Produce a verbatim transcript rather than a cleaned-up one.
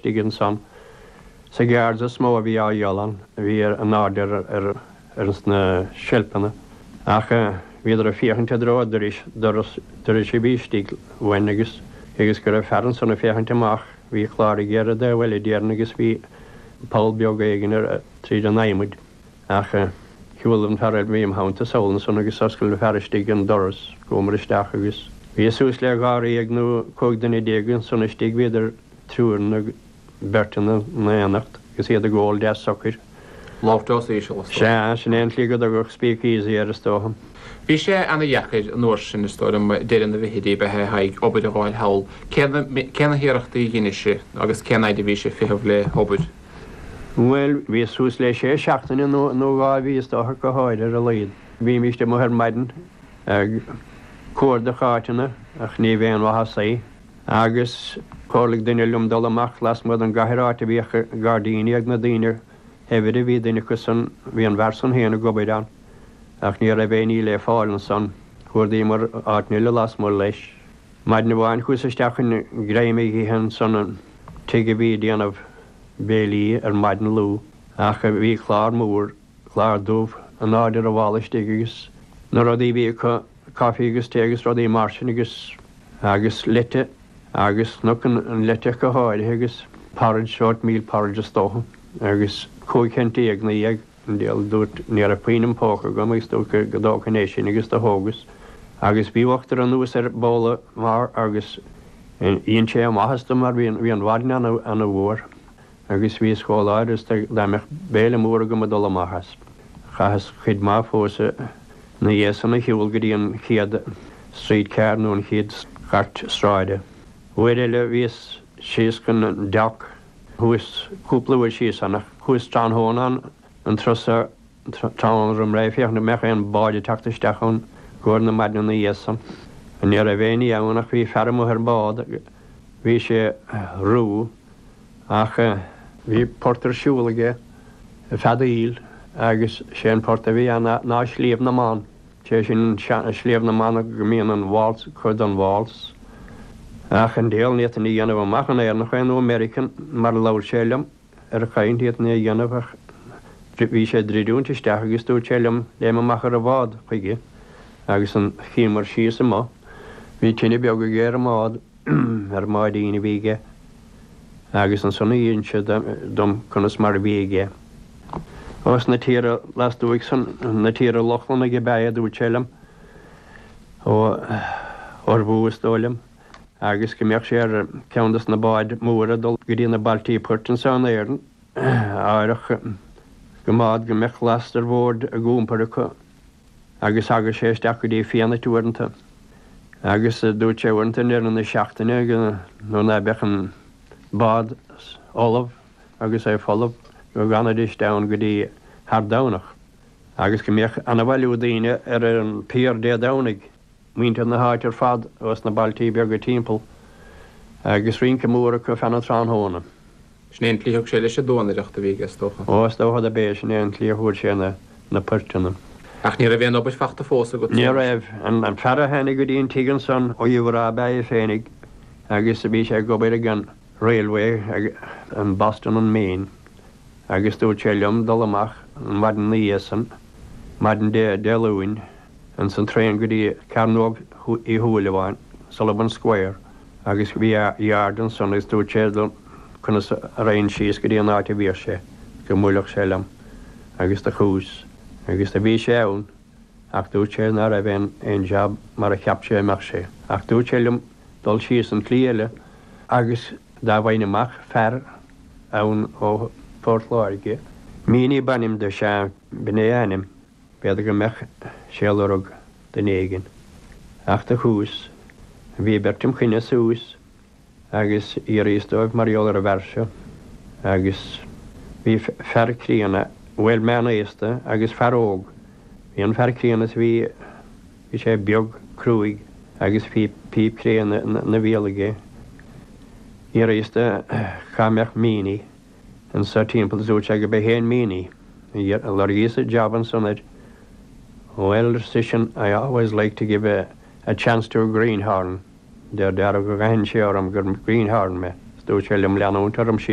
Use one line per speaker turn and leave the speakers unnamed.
istigh ansan. Sa guards is mó a bhí á dhíol ann, a bhí ar an airde ar ar ar na seilfeanna. Ach bhíodar ag féachaint i dtreo dorais doras dorais a bhí istigh uainn agus agus go raibh fear ansan ag féachaint amach, bhí clár aige ar an dtaobh eile déarfainn agus bhí poll beag éigin ar tríd an adhmaid. Ach shiúil an fear a bhí im theannta sall ansan agus oscail an fear istigh an doras, chuamar isteach agus bhí suas le dháréag nó cúig duine déag ansan istigh, bhíodar triúr nó beirt ina n-aonacht agus iad ag ól deas socair.
Labhairt os íseal is dócha.
Sea, sin é an tslí go dtugadh speakeasy air is dócha.
Bhí sé ana-dheacair an uair sin is dóigh liom deireadh na bhfichidí bheith ag obair a fháil thall. Cé na hiarrachtaí a dhein sibh agus cén fhaid a bhí sibh ag feitheamh le hobair?
Bhuel, bhí suas le sé seachtaine nó nó dhá mhí is dócha go háirithe ar a laghad. Bhímist amuigh ar maidin ag cuardach áiteanna ach ní bheadh aon mhaitheas é. Agus chomhairligh duine liom dul amach lasmuigh den gcathair áit a bhíodh gairdíní ag na daoine shaibhre, bhí duine acu san, bhí an bhfear san féin ag obair ann, ach ní raibh aon ní le fáil ansan. Chuardaíomar áit eile lasmuigh leis. Maidin amháin chuas isteach chun greim a ithe ansan an tigh a bhí ag déanamh béilí ar maidin luath, ach bhí clár mór, clár dubh in airde ar an bhalla istigh agus na rudaí a bhí acu, caife agus tae agus rudaí mar sin agus agus leite agus chonac an leite go háirithe agus porridge, oatmeal porridge is dócha agus cúig cent déag na dhéag an diabhal dúirt ní raibh puinn im phóca agam agus dúirt go dtógfainn é sin agus do thógas agus bhí uachtar anuas ar bhabhla mar agus dhein sé maitheas dom mar bhí an mhaidin ana-fhuar agus bhíos chomh láidir is dá mbeadh béile mór agam ag dul amach as. Chaitheas cuid maith fós ina dhiaidh san a shiúl go dtí an chéad streetcar nó an chéad chairt sráide. Uair eile bhíos síos chun an dock thuas cúpla uair síos ann ach chuas tráthnóna ann an turas tráthnóna roim ré féachaint an mbeadh aon bád ag teacht isteach ann i gcomhair na maidine ina dhiaidh san. Ní raibh aon ní ann ach bhí fear amuigh ar an bád, bhí sé rua ach bhí port ar siúl aige ag feadaíl agus sé an port a bhí ann ná Sliabh na mBan. Sé sin Sliabh na mBan go mbíonn an waltz, cuid den waltz. Ach an diabhal ní fhéadfainn a dhéanamh amach an Éireannach é nó American mar a labhair sé liom ar chaint ní fhéadfainn é a dhéanamh ach bhí sé ag druidiúint isteach agus dúirt sé liom léim amach ar an bhád chuige agus an chíomar síos amuigh. Bhí tine beag aige ar an mbád, ar an mbáidín a bhí aige agus ansan a dh'inis sé dom conas mar a bhí aige. Ós na tíortha lastuaidh san, na tíortha Lochlannaigh ab ea é, dúirt sé liom, ó Ormhú is dóigh liom, agus go mbeadh sé ar ceann des na báid mhóra ag dul go dtí na bailtí poirt anso in Éirinn, áireach go mbád go mbeadh last ar bhord ag iompar acu agus thagadh sé isteach go dtí Fianait uaireanta. Agus dúirt sé uaireanta i ndeireadh na seachtaine nuair ná beadh an bád ullamh agus é folamh go bhfanfaidís ann go dtí thar Domhnach agus go mbeadh ana-bhailiú daoine ar an pier Dé Domhnaigh, muintir na háite ar fad ós na bailtí beaga timpeall agus rince mór acu feadh an tráthnóna.
Sin é an tslí a thug sé leis an duanaireacht a bhí aige is dócha.
Ó, is dócha dob é sin é an tslí a fuair sé na na poirteanna.
Ach ní raibh aon obair fachta fós agat?
Ní raibh. An fear a tháinig go dtí an tigh ansan ó Iúr ab ea é féinig agus bhí sé ag obair ag an Railway in Boston and Maine agus dúirt sé liom dul amach an mhaidin ina dhiaidh san, maidin Dé Dé Luain, ins an traein go dtí Cearnóg Uí Shúilleabháin, Sullivan Square, agus bhí a yard ansan agus dúirt sé dom conas a raghainn síos go dtí an áit a bhíodh sé, go mbuailfeadh sé liom agus do chuas agus do bhí sé ann ach dúirt sé ná raibh aon aon jab mar a cheap sé a mbeadh sé ach dúirt sé liom dul síos an tslí eile agus dá bhfaighinn amach fear ann ó Phort Láirge, Meaney b'ainm dó, sea, b'in é a ainm, b'fhéidir go mbeadh sé ag lorg duine éigin. Ach do chuas. Bhí beirt im choinne suas agus d'fhiafraíos dóibh mar gheall ar an bhfear seo agus bhí fear críonna, bhuel meánaosta agus fear óg. Bhí an fear críonna is bhí, bhí sé beag cruaidh agus bhí píp cré ina bhéal aige. D'fhiafraíos de cá mbeadh Meaney anso timpeall is dúirt sé go b'é féin Meaney. Lorgaíos jab ansan air. Well, ar seisean, I always like to give a, a chance to a greenhorn. Deir dearbh go gcaithfinn sé orm gur greenhorn mé. Is dúirt sé liom leanúint orm síos